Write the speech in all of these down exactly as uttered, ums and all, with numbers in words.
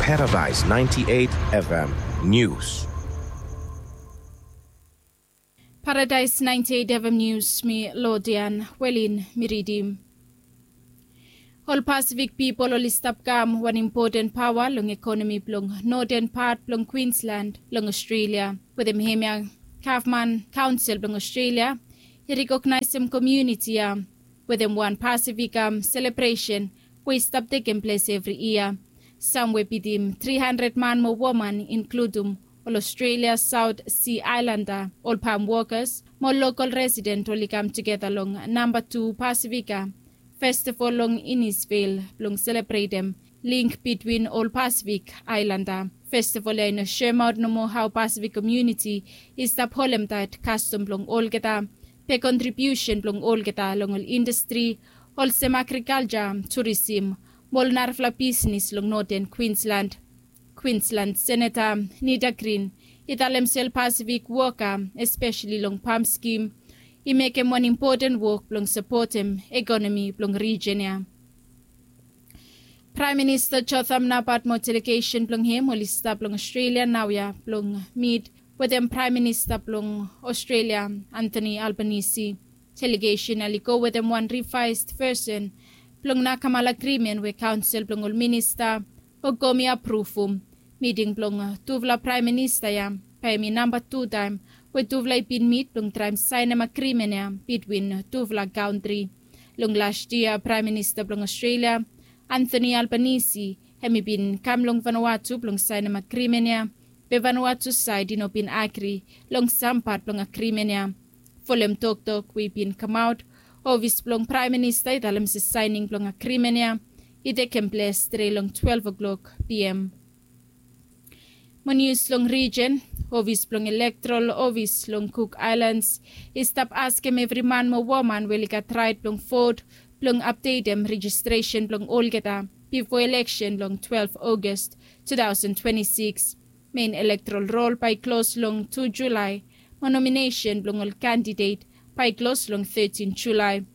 Paradise ninety-eight F M News. Paradise ninety-eight F M News, mi Lodian Welin mi ridim. Ol Pasifik pipol oli stap kam wan impoten paoa long ekonomi blong noten pat blong Kwinsland long Australia. Wetem hemia, gavman kaonsel blong Australia i rekognaesem komuniti ya wetem wan Pasifik selebresen we i stap tekem ples evri yia. Sam we bitim tri handred man mo woman, inkludum ol Australia Saot Si Aelanda, ol pam wokas mo lokol residen, oli kam tugeta long namba tu Pasifika Festival long Innisfail blong selebretem ling bitwin ol Pasifik Aelanda. Festival ya i no semaot nomo hao Pasifik komuniti i stap holemtaet kastom blong olgeta, be kontribiusen blong olgeta long ol indastri olsem agrikalja, turisim mo ol narafala bisnis long noten Kwinsland. Kwinsland Seneta Nita Green i talem se ol Pasifik woka, espeseli long pam skim, i mekem wan impoten wok blong sapotem ekonomi blong rijen ya. Praem Minista Jotham Napat mo delegesen blong hem oli stap long Australia naoia blong mit wetem Praem Minista blong Australia, Anthony Albanese. Delegesen ya oli go wetem wan rivaes vesen blong Nakamal Agrimen we kaonsel blong ol minista o Gomi apruvum. Miting blong tufala praem minista ya bae hemi namba tu taem we tufala i bin mit blong traem saenem agrimen ya bitwin tufala kantri. Long las yia, Praem Minista blong Australia, Anthony Albanese, hemi bin kam long Vanuatu blong saenem agrimen ya, be Vanuatu saed i no bin agri long sam pat blong agrimen ya. Folem toktok we i bin kamaot, ofis blong Praem Minista i talem se saening blong agrimen ya i tekem ples tre long twelve o'clock P M. Mo nius long rijen, ofis blong Elektoral Ofis long Cook Islands i stap askem evri man mo woman we oli gat raet blong vot blong apdetem rejistresen blong olgeta bifo eleksen long twelve August two thousand twenty-six. Mein elektoral rol bae i klos long tu Julae, mo nominesen blong ol kandidet bae i klos long thirteen Julae.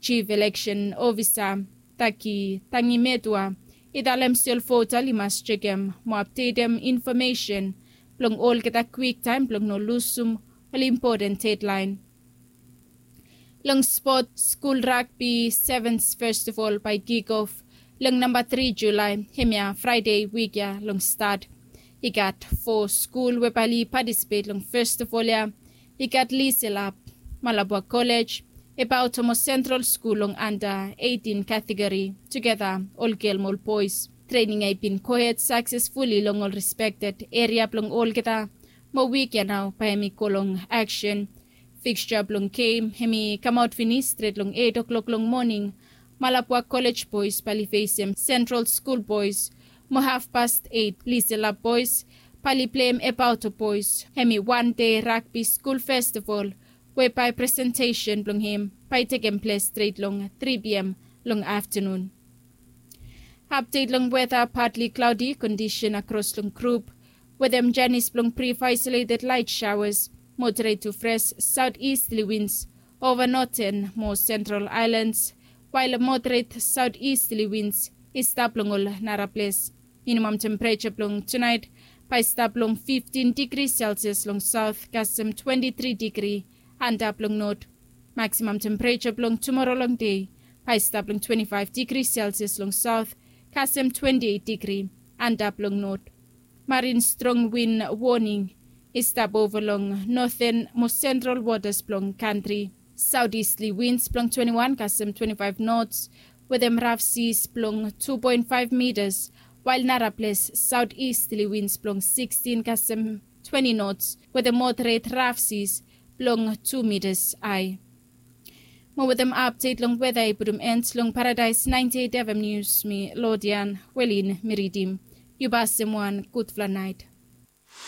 Jif Eleksen Ofisa Taki Tangimetua i talem se ol vota oli mas jekem mo apdetem infomesen blong olgeta kwiktaem blong no lusum ol impoten dedlaen. Long spot, skul ragbi sevens festival bae i kikof long namba tri Julae, hemia Fraede wik ya long stat. I gat fo skul we bae oli patisipet long festival ya. I gat Liselap, Malabwa Kolej, Ebauto mo Sentral Skul long anda eitin kategori, tugeta ol gel mo ol boes. Trening ya i bin gohed saksesfuli long ol respekted eria blong olgeta, mo wik ya nao bae hemi go long aksen. Fiksja blong gem hemi kamaot finis stret long eit o'klok long moning. Malabwa Kolej boes bae oli fesem Sentral Skul boes, mo hafpast eit Liselap boes bae oli pleim Ebauto boes. Hemi wan dei ragbi skul festival we bae presentesen blong hem bae i tekem ples stret long tri P M long aftenun. Apdet long weta: partly cloudy kondisen akros long grup wetem janis blong brif aisoleted lait saoas, moderet tu fres saotistli wins ova noten mo sentral aelans, wael moderet saotistli wins i stap long ol naraples. Minimam tempereja blong tunaet bae i stap long fiftin digri Celsius long saot kasem twenti tri digri antap long not. Maksimam tempereja blong tumora long dei bae i stap long twenti faef digri Celsius long saot kasem twenti eit digri antap long not. Marin strong win woning i stap ova long noten mo sentral wotas blong kantri. Saotistli wins blong twenti wan kasem twenti faef nots wetem raf sis blong tu poen faef mitas, wael naraples saotistli wins blong sikstin kasem twenti nots wetem moderet raf sis blong tu mitas ae. Mo wetem apdet long weta i putum en long Paradaes naenti eit F M Nius, mi Lodian Welin mi ridim. Yu basim wan gudfala naet.